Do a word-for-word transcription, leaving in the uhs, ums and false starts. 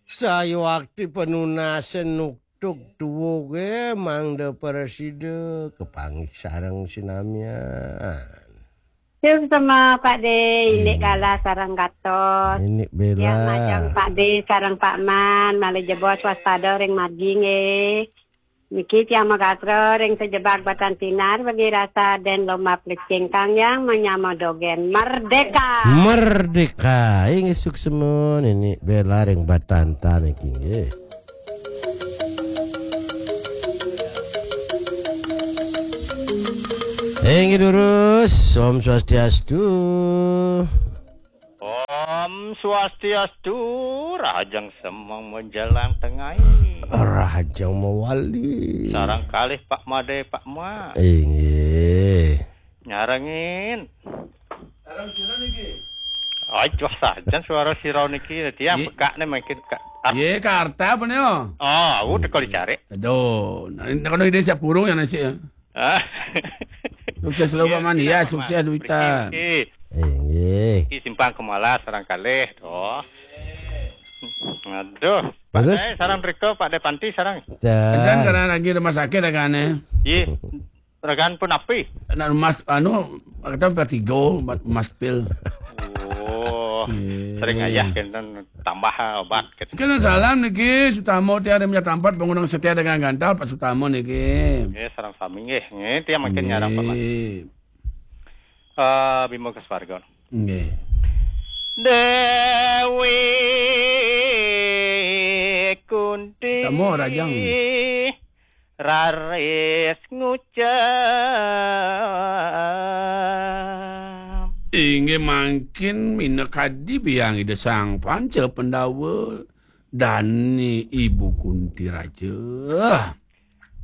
Sayuakti panunasan nuktuk tuwuke mangda prasida kapanggih sareng sinamian. Suksma Pak De, indik Hmm. Galah sareng Gatot. Indik Bella. Ya, majeng Pak De sareng Pak Man, malih jebos waspada ring margi nggih. Niki tiang magatra ring sajebag Batan Sinar, bagi rasa den lomba plecing kang yang manyama dogen. Merdeka! Merdeka! Inggih suksma niki Bella ring Batanta niki nggih. Inggih durus, Om Swastiastu. Om Swastiastu, rahajeng semeng menjelang tengah. Rahajeng mawali. Sareng kalih Pak Made, Pak Ma. Inggih. Nyarengin. Sareng sira niki. Aduh, sajan suara sira niki, tiang Ye- pekakne mungkin ka-, ah. Ye, Karta apa nih, oh? Oh, aku teko dicari. Aduh, nah, ini kalau ide siap kurung ya nasi ya. Ah. Sukses selalu, Pak Man. Ya, Pak Man. Sukses, Duita. Oke, oke. Inggih. Iki simpang kemala sareng kalih, toh. Aduh, Pak Terus? Dae sareng Rika, Pak Dae Panti sareng. Dan karena lagi rumah sakit agane. Iya. Regan pun api. Anak mas, anu, kata vertigo, mas pil. Oh, Iya. Sering ayah kenten tambah obat gitu. Kena salam niki, Sutamo tiada punya tampat, bangunan setia dengan gantal, Pak Sutamo niki. Nggih, sareng sami nggih. Nggih, tiang mungkin nyarang Pak Mas. Nggih. Eh, Bima Keswarga. Nggih. Dewi Kunti. Sutamo, Rajang. Raris ngucap. Inggih mangkin minakadi biang Ida Sang Panca Pandawa dane Ibu Kunti Raja.